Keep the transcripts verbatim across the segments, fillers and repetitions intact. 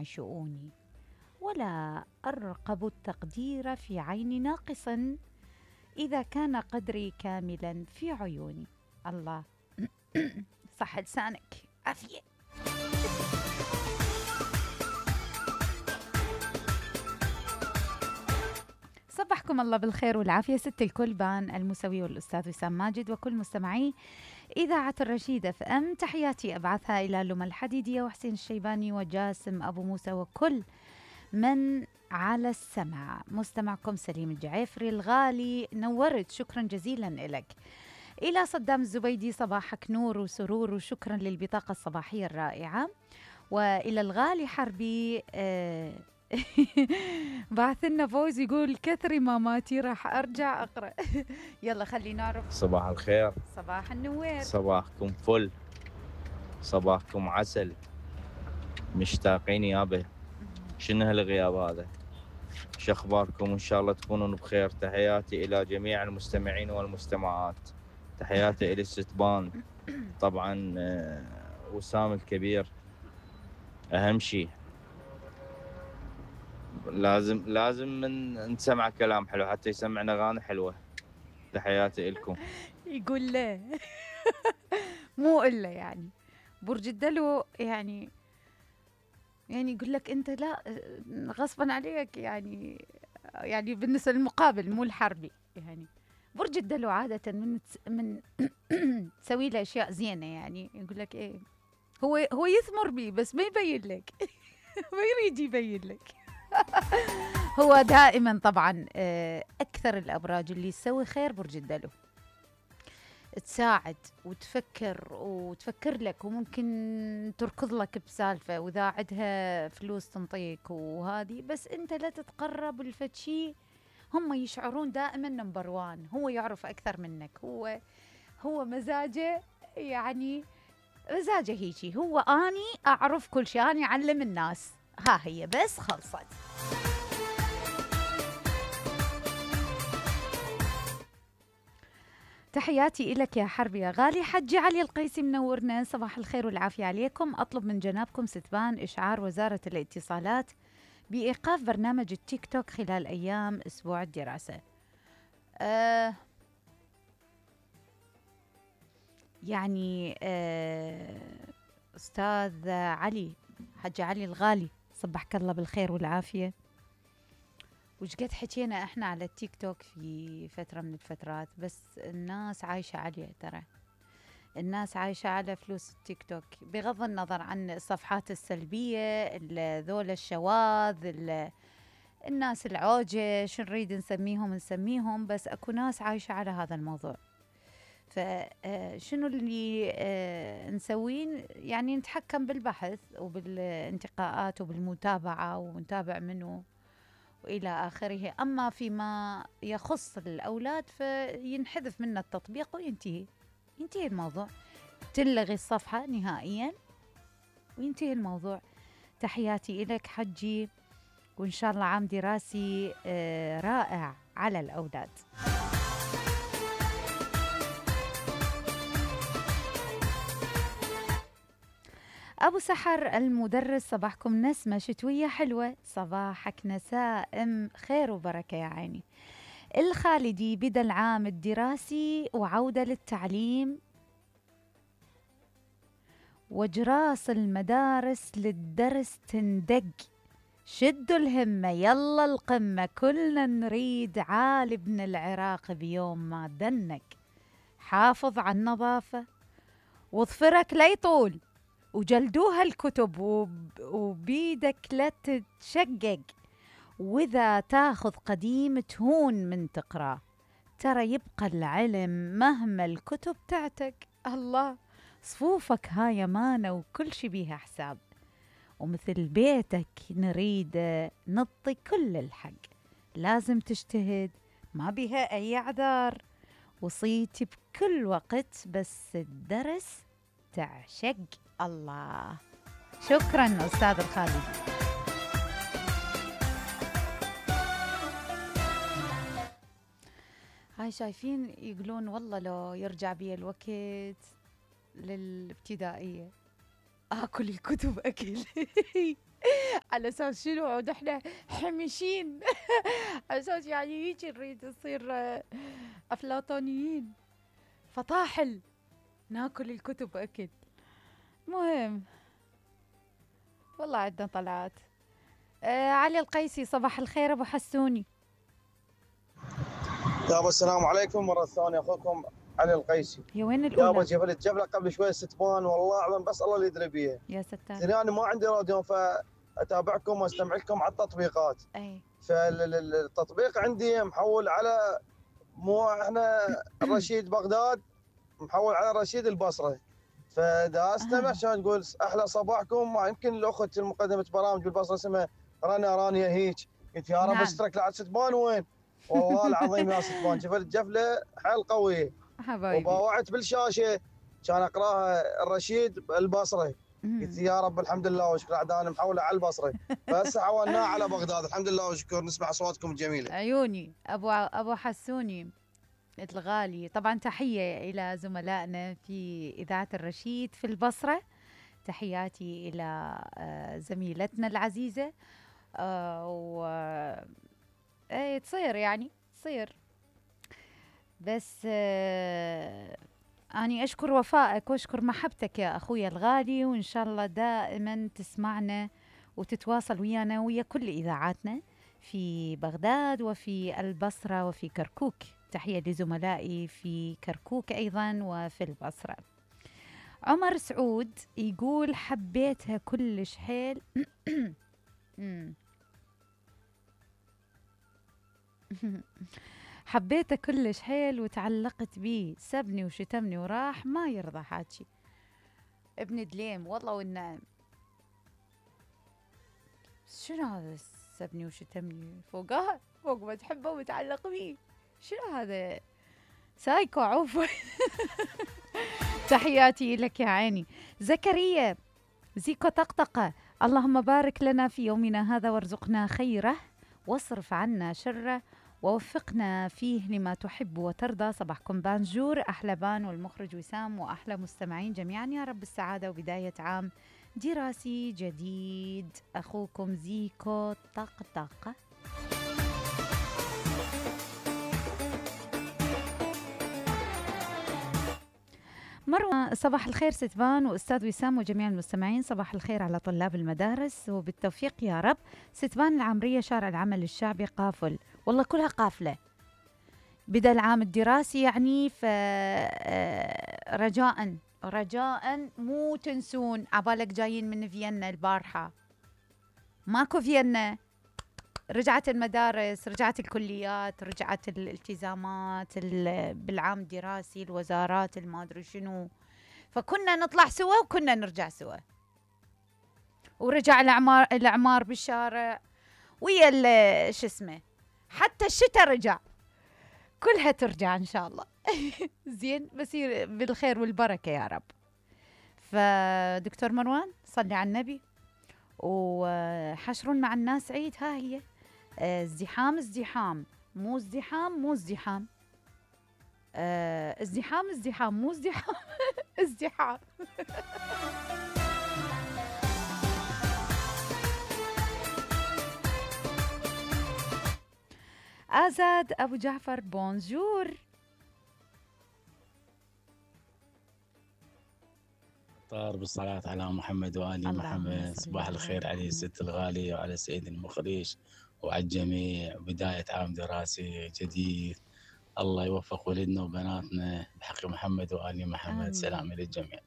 شؤوني ولا أرقب التقدير في عين ناقص إذا كان قدري كاملا في عيوني. الله. صح لسانك عافية. صبحكم الله بالخير والعافية ست الكل، بان المسوي والأستاذ وسام ماجد وكل مستمعي إذاعة الرشيد اف ام. تحياتي أبعثها إلى لما الحديدية وحسين الشيباني وجاسم أبو موسى وكل من على السمع. مستمعكم سليم الجعيفري الغالي، نورت، شكرا جزيلا لك. إلى صدام الزبيدي، صباحك نور وسرور وشكرا للبطاقة الصباحية الرائعة. وإلى الغالي حربي آه بعث لنا فوز يقول كثري ماماتي راح أرجع أقرأ. يلا خلينا نعرف. صباح الخير، صباح النوير، صباحكم فل، صباحكم عسل، مشتاقين يابا. شنو هالغياب هذا؟ شو اخباركم؟ ان شاء الله تكونون بخير. تحياتي الى جميع المستمعين والمستمعات، تحياتي الى الستبان طبعا، وسام الكبير. اهم شيء لازم لازم من نسمع كلام حلو حتى يسمعنا اغاني حلوه. تحياتي لكم. يقول لا مو إلا يعني برج الدلو، يعني يعني يقول لك أنت لا غصبا عليك، يعني يعني بالنسبة للمقابل مو الحربي. يعني برج الدلو عادة من من تسوي له أشياء زينة، يعني يقول لك إيه، هو هو يثمر بي بس ما يبين لك. ما يريد يبين لك. هو دائما طبعا أكثر الأبراج اللي تسوي خير برج الدلو، تساعد وتفكر وتفكر لك، وممكن تركض لك بسالفة وإذا عندها فلوس تنطيك وهذه، بس أنت لا تتقرب الفتشي. هم يشعرون دائما نمبر وان، هو يعرف أكثر منك. هو هو مزاجه، يعني مزاجه هيجي، هو أني أعرف كل شيء، أني أعلم الناس، ها هي بس خلصت. تحياتي إلك يا حربي يا غالي. حجي علي القيسي منورنا، صباح الخير والعافية عليكم. أطلب من جنابكم ستبان إشعار وزارة الاتصالات بإيقاف برنامج التيك توك خلال أيام أسبوع الدراسة. أه يعني أه أستاذ علي، حجي علي الغالي، صبحك الله بالخير والعافية. وش قد حكينا احنا على التيك توك في فترة من الفترات، بس الناس عايشة عليه. ترى الناس عايشة على فلوس التيك توك، بغض النظر عن الصفحات السلبية، ذول الشواذ، الناس العوجة، شو نريد نسميهم نسميهم، بس اكو ناس عايشة على هذا الموضوع. فشنو اللي نسوين؟ يعني نتحكم بالبحث وبالانتقاءات وبالمتابعة ونتابع منه وإلى آخره. أما فيما يخص الأولاد فينحذف منه التطبيق وينتهي، ينتهي الموضوع، تلغي الصفحة نهائيا وينتهي الموضوع. تحياتي إليك حجي، وإن شاء الله عام دراسي رائع على الأولاد. أبو سحر المدرس، صباحكم نسمة شتوية حلوة، صباحك نسائم خير وبركة يا عيني. الخالدي، بدأ العام الدراسي وعودة للتعليم وجراس المدارس للدرس تندق، شدوا الهمة يلا القمة، كلنا نريد عالي بن العراق بيوم ما دنك. حافظ على النظافة وظفرك لا يطول، وجلدوها الكتب وبيدك لا تتشقق، وإذا تاخذ قديم تهون من تقرأ، ترى يبقى العلم مهما الكتب تعتق. الله، صفوفك هاي أمانة وكل شي بيها حساب، ومثل بيتك نريد نطي كل الحق، لازم تجتهد ما بيها أي أعذار، وصيتي بكل وقت بس الدرس تعشق. الله، شكرا أستاذ الخالد. هاي شايفين يقولون والله لو يرجع بي الوقت للابتدائية آكل الكتب أكل. على اساس شنو عود احنا حمشين على اساس يعني هيك نريد نصير آه، افلاطونيين فطاحل ناكل الكتب اكل. مهم والله عندنا طلعات. آه علي القيسي صباح الخير ابو حسوني. يابا السلام عليكم مرة ثانية، أخوكم علي القيسي. يا وين يابا الاولى؟ جبل جبلة قبل شوي ستبان، والله أعلم بس الله اللي يدري بيها. يا ستار. زين أنا ما عندي راديو فأتابعكم وأستمع لكم على التطبيقات. اي فالتطبيق عندي محول على مو احنا الرشيد بغداد، محول على رشيد البصرة. فدا استمع عشان تقول احلى صباحكم. ما يمكن الاخت المقدمة برامج بالبصرة اسمها رنا رانيا هيك. قلت يا رب نعم. استرك لعد ستبان وين؟ والله العظيم يا ستبان شفت جفله حيل قويه حبايبي. وباوعت بالشاشه كان اقراها الرشيد البصره. مم. قلت يا رب الحمد لله وشكر عاد انا محوله على البصره بس حولناه على بغداد. الحمد لله وشكر نسمع اصواتكم الجميله. عيوني ابو ابو حسوني الغالي. طبعا تحيه الى زملائنا في اذاعه الرشيد في البصره. تحياتي الى آه، زميلتنا العزيزه. آه، و ايه تصير يعني تصير بس آه، أني أشكر وفائك وأشكر محبتك يا أخوي الغالي، وإن شاء الله دائما تسمعنا وتتواصل ويانا ويا كل إذاعاتنا في بغداد وفي البصرة وفي كركوك. تحية لزملائي في كركوك أيضا وفي البصرة. عمر سعود يقول حبيتها كلش حيل حبيته كلش حيل وتعلقت بيه، سبني وشتمني وراح ما يرضى حاجي. ابن دليم والله والنعم. شنو هذا سبني وشتمني فوقها فوق ما تحبه ومتعلق بيه؟ شنو هذا سايكو عفوا. تحياتي لك يا عيني. زكريا زيكو طقطقة، اللهم بارك لنا في يومنا هذا وارزقنا خيره واصرف عنا شره ووفقنا فيه لما تحب وترضى. صباحكم بانجور، أحلى بان والمخرج وسام وأحلى مستمعين جميعا يا رب السعادة وبداية عام دراسي جديد. أخوكم زيكو طقطقة. مروة صباح الخير ستبان وأستاذ وسام وجميع المستمعين. صباح الخير على طلاب المدارس وبالتوفيق يا رب. ستبان العمرية شارع العمل الشعبي قافل، والله كلها قافلة. بدأ العام الدراسي يعني فرجاء رجاء مو تنسون عبالك جايين من فيينا البارحة. ماكو فيينا، رجعت المدارس، رجعت الكليات، رجعت الالتزامات بالعام الدراسي، الوزارات الما ادري شنو. فكنا نطلع سوا وكنا نرجع سوا، ورجع الاعمار الاعمار بالشارع ويا شو اسمه، حتى الشتاء رجع، كلها ترجع ان شاء الله. زين بصير بالخير والبركه يا رب. فدكتور مروان صلي على النبي، وحشر مع الناس عيد. ها هي ازدحام ازدحام مو ازدحام مو ازدحام اه ازدحام ازدحام مو ازدحام ازدحام. آزاد أبو جعفر بونجور. طار بالصلاة على محمد وآل محمد. صباح الخير على الست الغالية وعلى سيد المخرج وعلى الجميع. بداية عام دراسي جديد، الله يوفق ولدنا وبناتنا بحق محمد وآل محمد. آمين. سلام للجميع.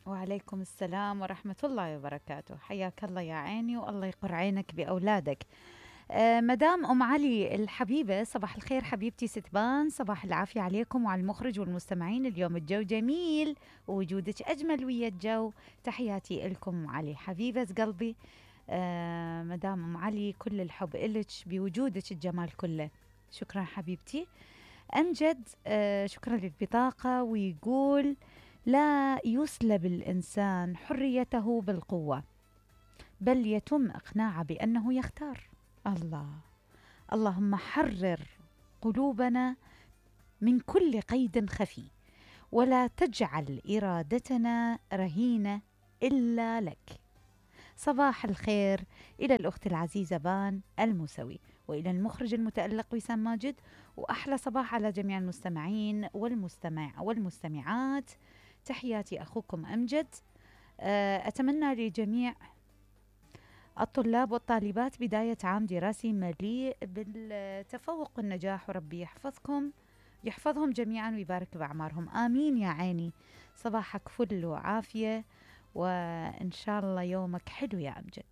وعليكم السلام ورحمة الله وبركاته. حياك الله يا عيني، والله يقر عينك بأولادك. آه مدام أم علي الحبيبة، صباح الخير حبيبتي ستبان، صباح العافية عليكم وعلى المخرج والمستمعين. اليوم الجو جميل ووجودك أجمل ويا الجو. تحياتي لكم أم علي حبيبة قلبي. آه مدام أم علي كل الحب إلك بوجودك الجمال كله. شكرا حبيبتي. أمجد آه شكرا للبطاقة، ويقول لا يسلب الإنسان حريته بالقوة، بل يتم إقناعه بأنه يختار. الله، اللهم حرر قلوبنا من كل قيد خفي، ولا تجعل إرادتنا رهينة إلا لك. صباح الخير إلى الأخت العزيزة بان الموسوي، وإلى المخرج المتألق وسام ماجد، وأحلى صباح على جميع المستمعين والمستمع والمستمعات. تحياتي أخوكم أمجد. أتمنى لجميع الطلاب والطالبات بداية عام دراسي مليء بالتفوق والنجاح، وربي يحفظكم يحفظهم جميعا ويبارك بأعمارهم، آمين يا عيني. صباحك فل وعافية، وإن شاء الله يومك حلو يا أمجد.